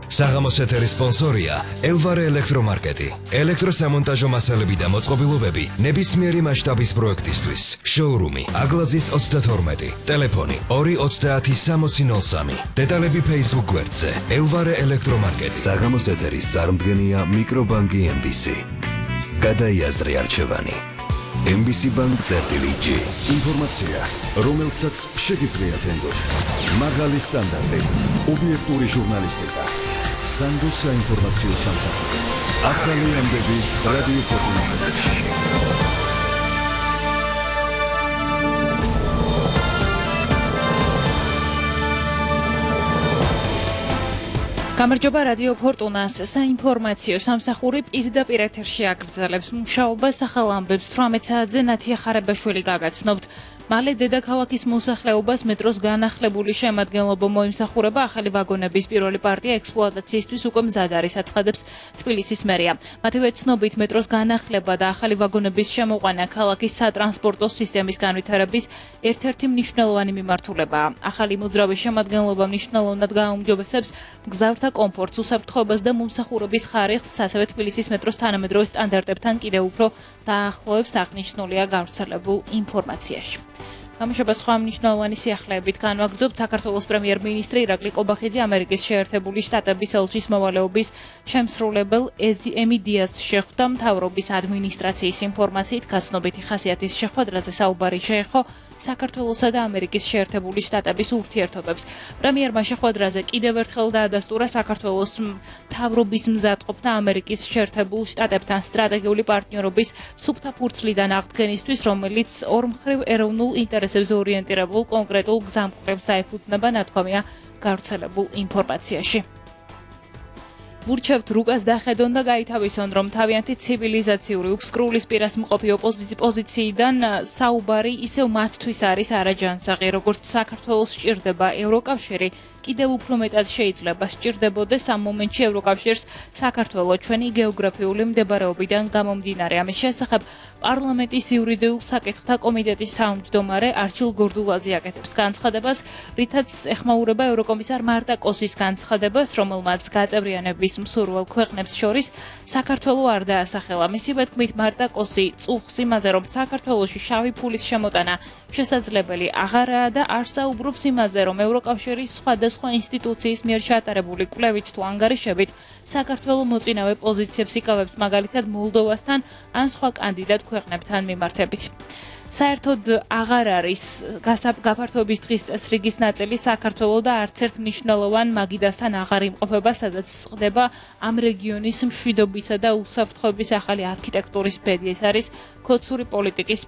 საღამოს ეთერის სპონსორია ელვარე ელექტრომარკეტი. ელექტროსამონტაჟო მასალები და მოწყობილობები ნებისმიერი მასშტაბის პროექტისთვის. შოურუმი აგლაძის 32. ტელეფონი 2306003. დეტალები Facebook გვერდზე ელვარე ელექტრომარკეტი. საღამოს ეთერის წარმდგენია მიკრობანკი MBC. გადაიაზრე არჩევანი. MBC Bank წერტილი-G. ინფორმაცია, რომელსაც შეგიძლიათ ენდოთ. მაღალი სტანდარტი, ობიექტური ჟურნალისტიკა. სანდო საინფორმაციო სამსახური. ახალი ამბები რადიო ფორტუნაზე. გამარჯობა რადიო ფორტუნას საინფორმაციო სამსახური პირდაპირ ეთერში აგრძელებს მუშაობას ახალ ამბებს 18 საათზე ნათია ხარებაშვილი გაგაცნობთ. მალე დედაქალაქის მოსახლეობას მეტროს განახლებული შემადგენლობა მოიმსახურება ახალი ვაგონების პირველი პარტია ექსპლუატაციისთვის უკვე მზად არის აცხადებს თბილისის მერია. მათივე ცნობით მეტროს განახლება და ახალი ვაგონების შემოყვანა ქალაქის სატრანსპორტო სისტემის განვითარების ერთ-ერთი მნიშვნელოვანი მიმართულებაა. ახალი მოძრავი შემადგენლობა მნიშვნელოვნად გააუმჯობესებს მგზავრთა კომფორტს, უსაფრთხოებას და მომსახურების ხარისხს, ასევე თბილისის მეტროს თანამედროვე სტანდარტებთან კიდევ უფრო დაახლოებს, აღნიშნულია გავრცელებულ ინფორმაციაში. გამოშვება სხვა მნიშვნელოვანი სიახლეებით განვაგრძობთ. საქართველოს პრემიერ-მინისტრი ირაკლი კობახიძე ამერიკის შეერთებული შტატების ელჩის მოვალეობის შემსრულებელ ემი დიასს შეხვდა. მთავრობის ადმინისტრაციის ინფორმაციით გაცნობითი ხასიათის შეხვედრაზე საუბარი შეეხო საქართველოსა და ამერიკის შეერთებული შტატების ურთიერთობებს. პრემიერმა შეხვედრაზე კიდევ ერთხელ დაადასტურა საქართველოს მთავრობის მზადყოფნა ამერიკის შეერთებულ შტატებთან სტრატეგიული პარტნიორობის სუფთა ფურცლიდან აღდგენისთვის, რომელიც ორმხრივ ეროვნულ ინტერესებზე ორიენტირებულ კონკრეტულ გზამკვლევს დაეფუძნება, ნათქვამია გავრცელებულ ინფორმაციაში. ვურჩევთ რუკას დახედონ და გაითავისონ, რომ თავიანთი ცივილიზაციური უფსკრულისპირას მყოფი ოპოზიციიდან საუბარი ისევ მათთვის არის არაჯანსაღი, როგორც საქართველოს სჭირდება ევროკავშირი, კიდევ უფრო მეტად შეიძლება სჭირდებოდეს ამ მომენტში ევროკავშირს საქართველო ჩვენი გეოგრაფიული მდებარეობიდან გამომდინარე. ამის შესახებ პარლამენტის იურიდიულ საკითხთა კომიტეტის თავმჯდომარე არჩილ გორდულაძე აკეთებს განცხადებას, რითაც ეხმაურება ევროკომისარ მარტა კოსის განცხადებას, რომელმაც გაწევრიანების მსურველ ქვეყნებს შორის საქართველო არ დაასახელა. მისივე თქმით, მარტა კოსი წუხს იმაზე, რომ საქართველოში შავი ფულის შემოტანა შესაძლებელი აღარაა და არ საუბრობს იმაზე, რომ ევროკავშირის სხვადასხვა ინსტიტუციის მიერ ჩატარებული კვლევით თუ ანგარიშებით საქართველო მოწინავე პოზიციებს იკავებს, მაგალითად მოლდოვასთან ან სხვა კანდიდატ ქვეყნებთან მიმართებით. საერთოდ აღარ არის გაფართოების დღის წესრიგის ნაწილი საქართველო და არც ერთ მნიშვნელოვან მაგიდასთან აღარ იმყოფება, სადაც წყდება ამ რეგიონის მშვიდობისა და უსაფრთხოების ახალი არქიტექტურის ბედი. ეს არის ქოცური პოლიტიკის